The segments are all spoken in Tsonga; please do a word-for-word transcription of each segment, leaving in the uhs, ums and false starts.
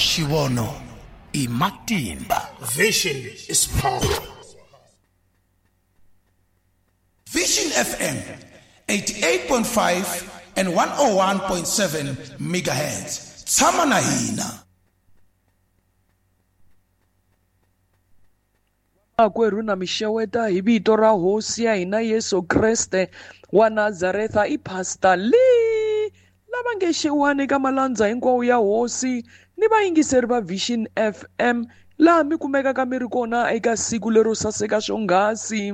Xivono i matimba. Vision is power. Vision F M eighty-eight point five and one oh one point seven megahertz. Tshama na hina. Makwerhu na mixeweta hi vito ra hosi ya hina Yesu Kreste wa Nazaretha i Pastor Lee lava nge xewani ka malandza hinkwawo ya hosi ni vayingiseri va Vision F M laha mi kumekaka mi ri kona eka siku lero saseka swonghasi.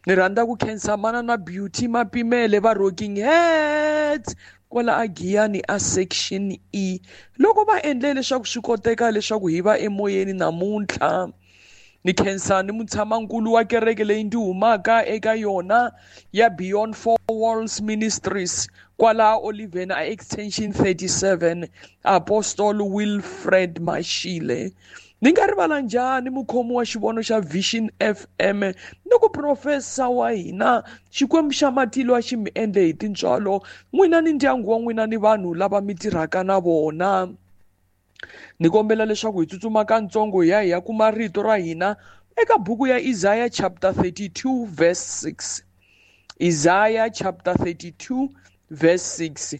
Ni rhandza ku khensa mana na Beauty Mapimele va Rocking Heads kwala a Giyani a Section E loko va endle leswaku swi koteka leswaku hi va emoyeni namuntlha. Ni khensa ni mutshamankulu wa kereke leyi ndzi humaka eka yona ya Beyond Four Walls Ministries kwala Oliven a Extension thirty-seven, Apostle Wilfred Mashile. Ni nga rivala njhani mukhomi wa xivono xa Vision F M ni ku profesa wa hina Xikwembu xa matilo a xi mi endle hi tintswalo n'wina ni ndyangu wa n'wina ni vanhu lava mi tirhaka na vona. Ni kombela leswaku hi tsutsuma katsongo hi ya hi ya kuma rito ra hina eka buku ya Isaiah chapter thirty-two verse six. Isaiah chapter thirty-two verse six.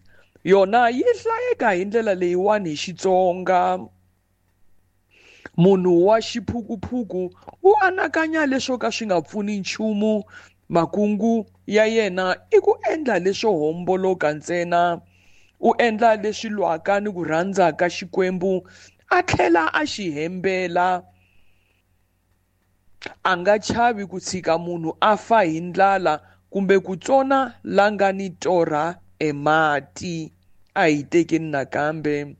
Yona yi hlayeka hi ndlela leyiwani hi Xitsonga. Munhu wa xiphukuphuku u anakanya leswo ka swi nga pfuni nchumu, makungu ya yena i ku endla leswo homboloka ntsena. U endla leswi lwaka ni ku rhandza ka Xikwembu a tlhela a xi hembela. A nga chavi ku tshika munhu a fa hi ndlala kumbe ku tsona la nga ni torha emati. A hi tekeni nakambe.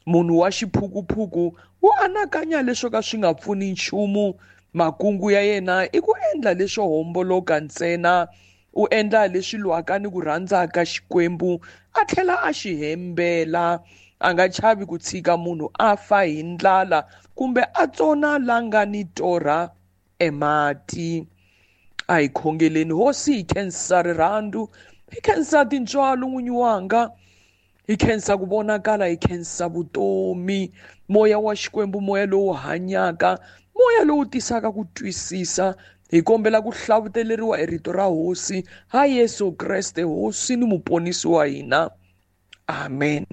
Munhu wa xiphukuphuku u anakanya leswo ka swi nga pfuni nchumu, makungu ya yena i ku endla leswo homboloka ntsena. U endla leswi lwaka ni ku rhandza ka Xikwembu a tlhela a xi hembela. A nga chavi ku tshika munhu a fa hi ndlala kumbe a tsona la nga ni torha emati. A hi khongeleni. Hosi, hi khensa rirhandzu, hi khensa tintswalo n'winyi wanga, hi khensa ku vonakala, hi khensa vutomi, moya wa Xikwembu, moya lowu hanyaka, moya lowu tisaka ku twisisa. Hi kombela ku hlavuteleriwa hi rito ra hosi ha Yesu Kreste, hosi ni muponisi wa hina. Amen.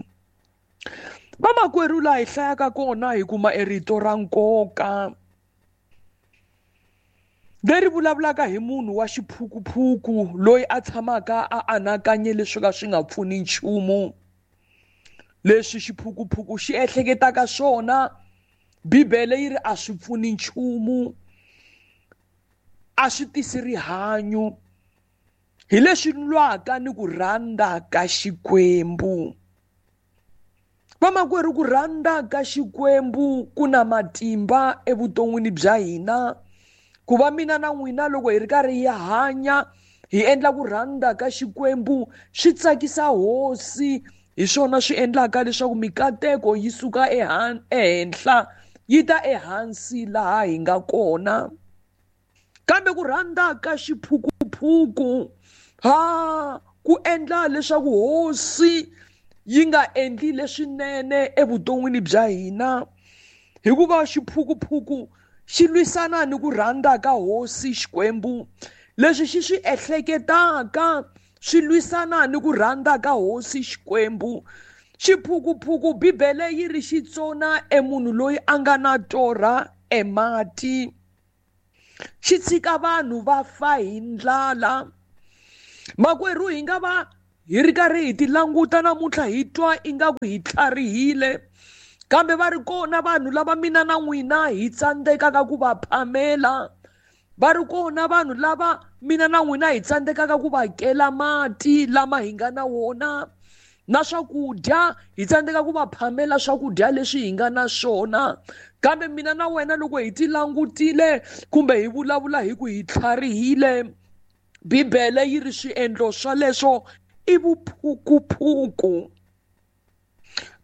Vamakwerhu, laha hi hlayaka kona hi kuma e rito ra nkoka leri vulavulaka hi munhu wa xiphukuphuku loyi a tshamaka a anakanye leswi ka swi nga pfuni nchumu. Leswi xiphukuphuku xi ehleketaka swona, Bibele yi ri a swi pfuni nchumu, a swi tisi rihanyo, hi leswi lwaka ni ku rhandza ka Xikwembu. Vamakwerhu, ku rhandza ka Xikwembu ku na matimba evuton'wini bya hina. Ku va mina na n'wina loko hi ri karhi hi hanya hi endla ku rhandza ka Xikwembu swi tsakisa hosi, hi swona swi endlaka leswaku mikateko yi suka ehenhla yi ta ehansi laha hi nga kona. Kambe ku rhandza ka xiphukuphuku ha ku endla leswaku hosi yi nga endli leswinene evuton'wini bya hina, hikuva xiphukuphuku xi lwisana ni ku rhandza ka hosi Xikwembu. Leswi xi swi ehleketaka swi lwisana ni ku rhandza ka hosi Xikwembu. Xiphukuphuku Bibele yi ri xi tsona emunhu loyi a nga na torha emati, xi tshika vanhu va fa hi ndlala. Makwerhu, hi nga va hi ri karhi hi ti languta namuntlha hi twa ingaku hi tlharihile, kambe va ri kona vanhu lava mina na n'wina hi tsandzekaka ku va phamela. Va ri kona vanhu lava mina na n'wina hi tsandzekaka ku va kela mati lama hi nga na wona, na swakudya hi tsandzeka ku va phamela swakudya leswi hi nga na swona. Kambe mina na wena loko hi ti langutile kumbe hi vulavula hi ku hi tlharihile, Bibele yi ri swiendlo swa leswo i vuphukuphuku.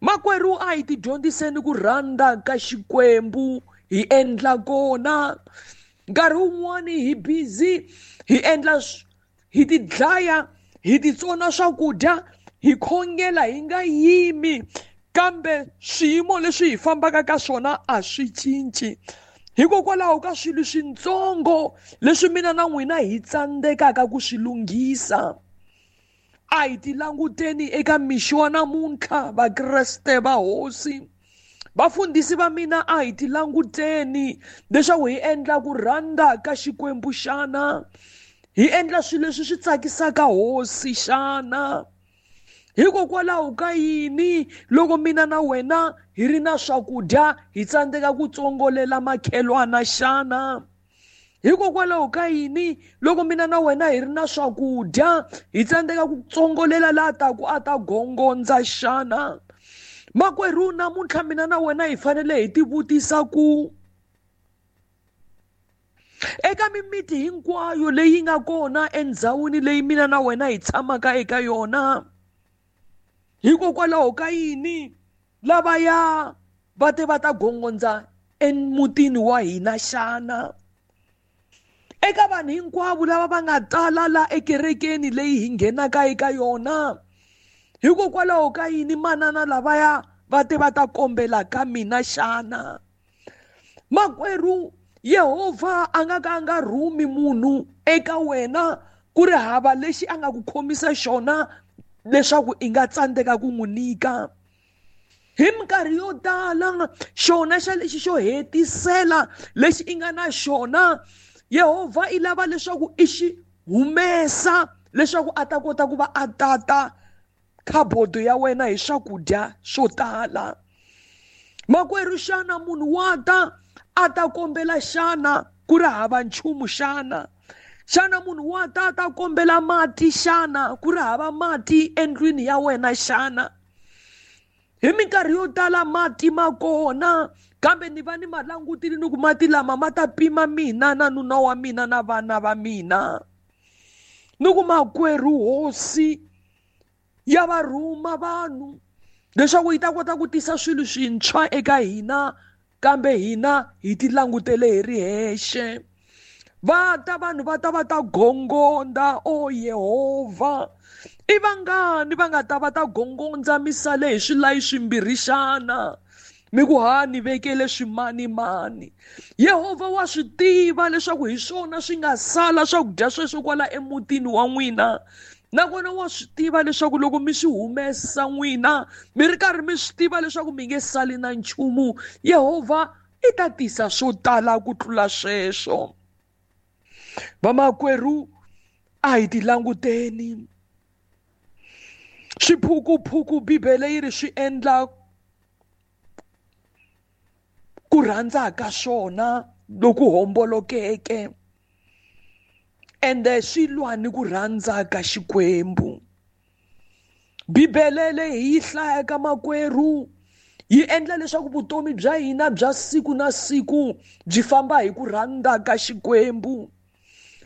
Makwerhu, a hi ti dyondziseni ku rhandza ka Xikwembu hi endla kona. Nkarhi wun'wani hi busy hi endla hi ti dlaya, hi ti tsona swakudya, hi khongela hi nga yimi, kambe swiyimo leswi hi fambaka ka swona a swi cinci. Hikokwalaho ka swilo swintsongo leswi mina na n'wina hi tsandzekaka ku swi lunghisa. A hi ti languteni eka mixo wa namuntlha, Vakreste va Hosi. Vafundhisi va mina, a hi ti languteni leswaku hi endla ku rhandza ka Xikwembu xana, hi endla swilo leswi swi tsakisaka Hosi xana. Hikokwalaho ka yini loko mina na wena hi ri na swakudya hi tsandzeka ku tsongolela makhelwana xana? Hikokwalaho ka yini loko mina na wena hi ri na swakudya hi tsandzeka ku tsongolela laha taku a ta gongondza xana? Makwerhu, namuntlha mina na wena hi fanele hi tivutisa ku eka mimiti hinkwayo leyi nga kona endhawini leyi mina na wena hi tshamaka eka yona, hikokwalaho ka yini lavaya va te va ta gongondza emutini wa hina xana? Eka vanhu hinkwavo lava va nga tala la ekerekeni leyi hi nghenaka eka yona, hikokwalaho ka yini manana lavaya va te va ta kombela ka mina xana? Makwerhu, Yehovha a nga ka a nga rhumi munhu eka wena ku ri hava lexi a nga ku khomisa xona leswaku i nga tsandzeka ku n'wi nyika. Hi minkarhi yo tala xona xa lexi xo hetisela lexi i nga na xona, Yehovha i lava leswaku i xi humesa leswaku a ta kota ku va a tata khabodo ya wena hi swakudya swo tala. Makwerhu, xana munhu wa ta a ta kombela xana ku ri hava nchumu xana? Xana munhu wa ta a ta kombela mati xana ku ri hava mati endlwini ya wena xana? Hi minkarhi yo tala mati ma kona, kambe ni va ni ma langutile ni ku mati lama ma ta pima mina na nuna wa mina na vana va mina. Ni ku makwerhu, Hosi ya va rhuma vanhu leswaku yi ta kota ku tisa swilo swintshwa eka hina, kambe hina hi ti langutele hi ri hexe. Va ta vanhu va ta va ta gongondza, o Yehovha, i vangani va nga ta va ta gongondza misale hi swilayi swimbirhi xana? Mi ku ha ni vekele swimanimani. Yehovha wa swi tiva leswaku hi swona swi nga sala swakudya sweswo kwala emutini wa n'wina. Nakona wa swi tiva leswaku loko mi swi humesa n'wina mi ri karhi mi swi tiva leswaku mi nge sali na nchumu, Yehovha i ta tisa swo tala ku tlula sweswo. Vamakwerhu, a hi ti languteni. Swiphukuphuku Bibele yi ri swi endla ku rhandza ka swona loku hombolokeke, ende swi lwa ni ku rhandza ka Xikwembu. Bibele leyi hi yi hlayaka makwerhu yi endla leswaku vutomi bya hina bya siku na siku byi famba hi ku rhandza ka Xikwembu.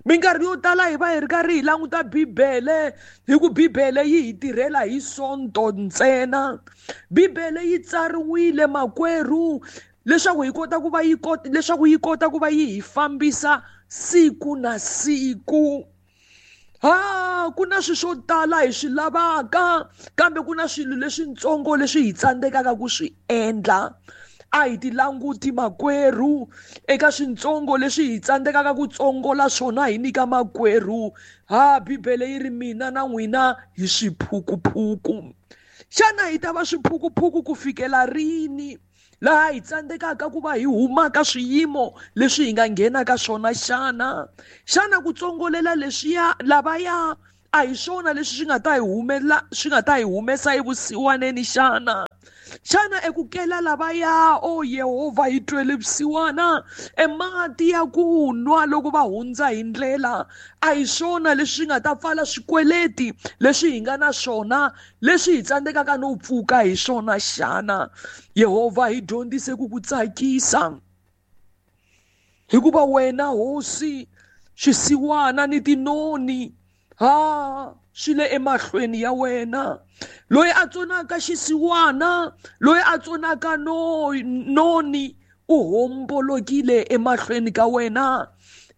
Minkarhi yo tala hi va hi ri karhi hi languta Bibele hi ku Bibele yi hi tirhela hi Sonto ntsena. Bibele yi tsariwile makwerhu leswaku hi kota ku va yi kota leswaku yi kota ku va yi hi fambisa siku na siku. Ha, ku na swilo swo tala hi swi lavaka, kambe ku na swilo leswintsongo leswi hi tsandzekaka ku swi endla. A hi ti languti makwerhu eka swintsongo leswi hi tsandzekaka ku tsongola swona hi nyika makwerhu. Ha, Bibele yi ri mina na n'wina hi swiphukuphuku. Xana hi ta va swiphukuphuku ku fikela rini laha hi tsandzekaka ku va hi huma ka swiyimo leswi hi nga nghena ka swona xana? Xana ku tsongolela leswiya lavaya a hi swona leswi swi nga ta hi humela swi nga ta hi humesa evusiwaneni xana? Xana eku kela lavaya, o Yehovha, hi twele vusiwana, emati ya ku nwa loko va hundza hi ndlela, a hi swona leswi nga ta pfala swikweleti leswi hi nga na swona leswi hi tsandzekaka no pfuka hi swona xana? Yehovha, hi dyondzise ku ku tsakisa, hikuva wena Hosi swisiwana ni tinoni ha swi le emahlweni ya wena. Loyi a tsonaka xisiwana, loyi a tsonaka no noni u hombolokile emahlweni ka wena.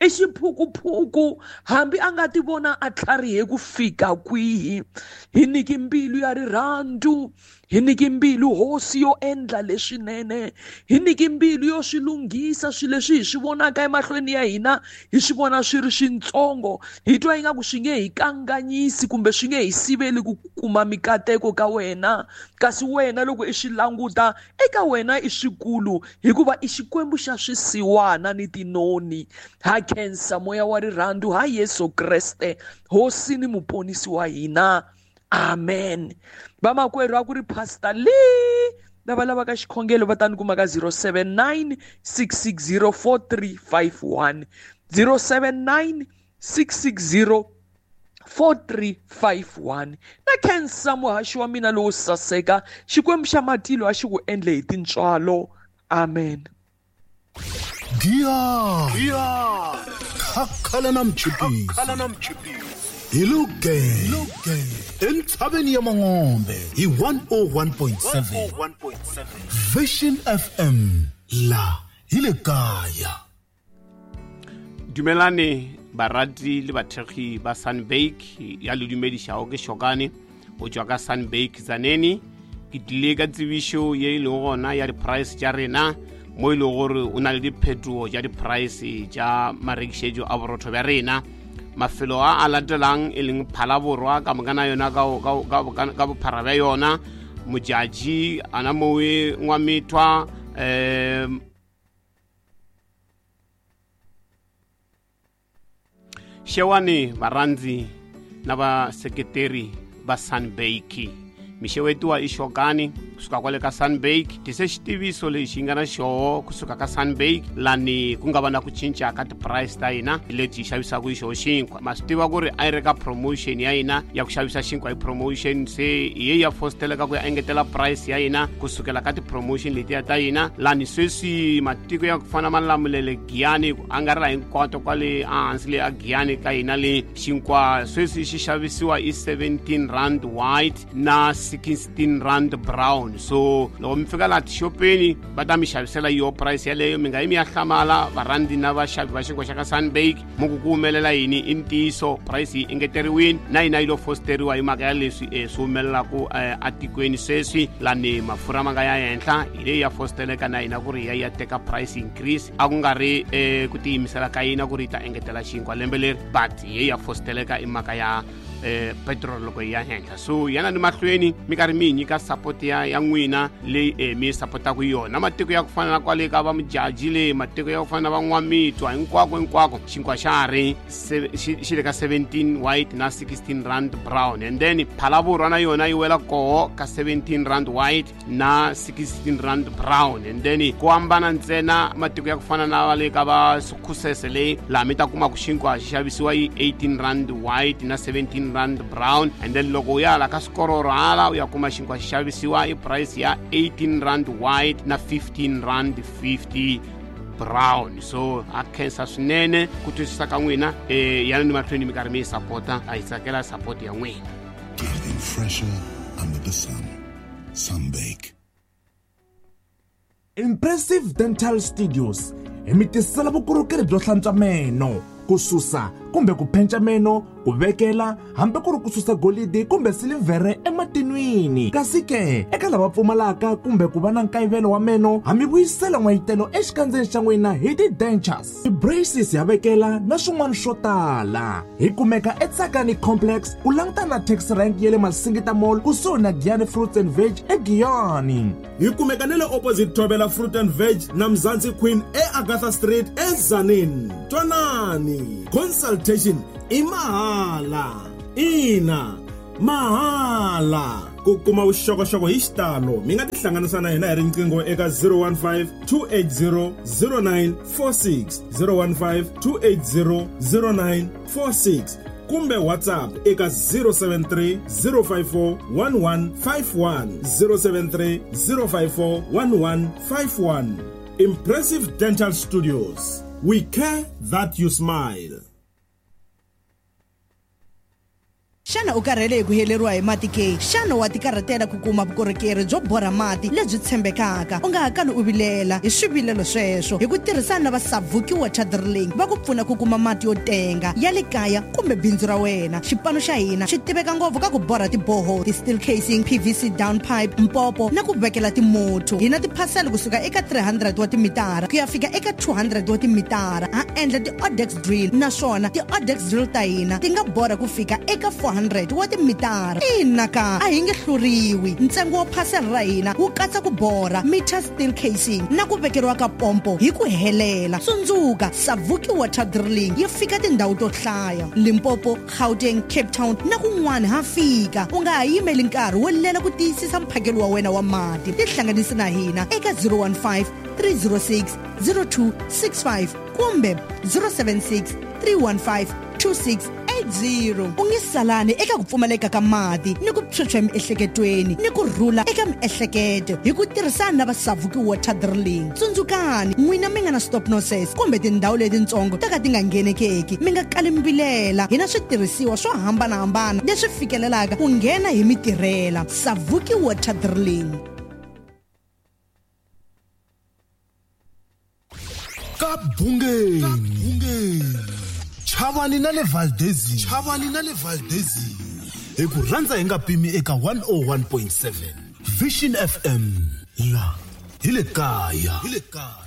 I xiphukuphuku hambi a nga ti vona a tlharihe ku fika kwihi. Hi nyiki mbilu ya rirhandzu, Hi nyiki mbilu hosi yo endla leswinene, hi nyiki mbilu yo swi lunghisa swilo leswi hi swi vonaka emahlweni ya hina, hi swi vona swi ri swintsongo, hi twa ingaku swi nge hi kanganyisi kumbe swi nge hi siveli ku kuma mikateko ka wena. Kasi wena loko i swi languta eka wena i swikulu, hikuva i Xikwembu xa swisiwana ni tinoni. Ha khensa moya wa rirhandzu ha Yesu Kreste hosi ni muponisi wa hina. Amen. Vamakwerhu, a ku ri Pastor Lee. Lava lavaka xikhongelo va ta ni kuma ka zero seven nine six six zero four three five one, zero seven nine six six zero four three five one. Na khensa muhaxi wa mina lowo saseka, Xikwembu xa matilo a xi ku endle hi tintswalo. Amen. Giya khakhala na mchipisi hi luge entshaveni ya Mangombe hi one oh one point seven Vision F M la hi le kaya. Dumelane barati le bathekgi ba Sunbake ya le dumedišago ke Shokane o tšwa ka Sunbake Tzaneen. Ke tlile ka tsebišo ye e lego gona ya di-price tša rena, mo e lego gore o na le diphetogo tša di-price tša marekišetšo a borotho bja rena. Mafelo a a latelang e leng Phalaborwa ka moka na yona ka bophara bja yona, Modjadji ana mowe Ngwamethwa, um Xewani varhandzi na vaseketeri va Sunbake. Mixewetiwa i Xokani kusuka kwale ka Sunbake. Tise xitiviso lexi nga na xoho kusuka ka Sunbake lani ku nga va na ku cinca ka ti-price ta hina leti hi xavisaka hi xoho xinkwa. Ma swi tiva ku ri a yi ri ka promotion ya hina ya ku xavisa xinkwa hi promotion, se hi ye ya fosteleka ku ya engetela price ya hina kusukela ka ti-promotion letiya ta hina. Lani sweswi matiko ya ku fana Malamulele, Giyani, ku angarhela hinkwato kwale ehansi le a Giyani ka hina le xinkwa sweswi xi xavisiwa i seventeen rand white na sixteen rand brown. So loko mi fika laha tixopeni va ta mi xavisela yo price yaleyo, mi nga yi mi ya hlamala varhandzi na vaxavi va xinkwa xa ka Sunbake mo ku ku humelela yini. I ntiyiso price yi engeteriwile na yina yi lo fosteriwa hi mhaka ya leswi um swi humelelaku atikweni sweswi lani mafurha ma nga ya henhla, hi leyi ya fosteleka na hina ku ri ya ya teka price increase. A ku nga ri um ku tiyimisela ka yina ku ri yi ta engetela xinkwa lembe leri, but hi ye ya fosteleka i mhaka ya eh petrol loko yi ya henhla. So yana ni mahlweni mi karhi mi hi nyika support ya ya n'wina leyi eh, mi supportaka yona. Matiko ya ku fana na kwale ka va Modjadji le, matiko ya ku fana na va N'wamitwa, hinkwako hinkwako xinkwa xa ha ri xi le ka seventeen white na sixteen rand brown. And then Phalaborwa na yona yi wela koho ka seventeen rand white na sixteen rand brown. And then ku hambana ntsena matiko ya ku fana na va le ka va Sukhusese le, laha mi ta kuma ku xinkwa xi xavisiwa yi eighteen rand white na seventeen rand brown. And then loko u ya la ka swikororo hala u ya kuma xinkwa xi xavisiwa i price ya eighteen rand white na fifteen rand fifty brown. So a khensa swinene ku twisisa ka n'wina, eh yana ni mahlweni mi karhi mi yi sapota, a hi tsakela support ya n'wina. Getting fresher under the sun. Sunbake. Impressive Dental Studios hi mi tisela vukorhokeri byo hlantswa meno, ku susa kumbe ku phenca meno, ku vekela hambi ku ri ku susa golidi kumbe silivhere ematinwini. Kasi ke eka lava pfumalaka kumbe ku va na nkayivelo wa meno, ha mi vuyisela n'wayitelo exikandzeni xa n'wina hi ti-dentures, ti-braces ya vekela na swin'wana swo tala. Hi kumeka eTsakani Complex ku langutana na taxi rank ya le Masingita Mall kusuhi na Giyani Fruits and Veg eGiyani. Hi kumeka na le opposite Thobela Fruit and Veg na Mzansi Queen eAgatha Street eTzaneen. Twanani, consultation i mahala. Ina, mahala. Ku kuma vuxokoxoko hi xitalo mi nga tihlanganisa na hina hi riqingho eka zero one five two eight zero zero nine four six, zero one five two eight zero zero nine four six kumbe WhatsApp eka zero seven three zero five four one one five one, zero seven three zero five four one one five one. Impressive Dental Studios. We care that you smile. Xana u karhele hi ku heleriwa hi mati ke? Xana wa tikarhatela ku kuma vukorhokeri byo borha mati lebyi tshembekaka? U nga ha kali u vilela hi swivilelo sweswo hi ku tirhisana na va Savuki Water Drilling va ku pfuna ku kuma mati yo tenga ya le kaya kumbe bindzu ra wena. Xipano xa hina xi tiveka ngopfu ka ku borha tiboho, ti-steel casing, P V C down pipe, mpopo na ku vekela timotho. Hi na tiphasela kusuka eka three hundred wa timitara ku ya fika eka two hundred wa timitara. Ha endla ti-odex drill naswona ti-odex drill ta hina ti nga borha ku fika eka four hundred wa timitara. Ina ka a hi nge hluriwi. Ntsengo wa phasela ra hina wu katsa ku borha, meter steel casing na ku vekeriwa ka pompo hi ku helela. Tsundzuka, Savuki Water Drilling yi fika tindhawu to hlaya: Limpopo, Gauteng, Cape Town na kun'wana ha fika. U nga ha yimeli nkarhi wo lela ku tiyisisa mphakelo wa wena wa mati. Tihlanganisi na hina eka zero one five, three zero six, zero two six five kumbe zero seven six, three one five, two six eight zero. U nge salani eka ku pfumaleka ka mati ni ku phyuphya emiehleketweni ni ku rhula eka miehleketo hi ku tirhisana na va Savuki Water Drilling. Tsundzukani, n'wina mi nga na stop nonsense kumbe tindhawu letitsongo to ka ti nga nghenekeki, mi nga kali mi vilela. Hi na switirhisiwa swo hambanahambana leswi fikelelaka ku nghena hi mitirhela. Savuki Water Drilling. Ka bungeni, Chavani na le Valdezi, Chavani na le Valdezi, hi ku rhandza hi nga pimi eka one oh one point seven Vision F M la hi le kaya, hi le kaya.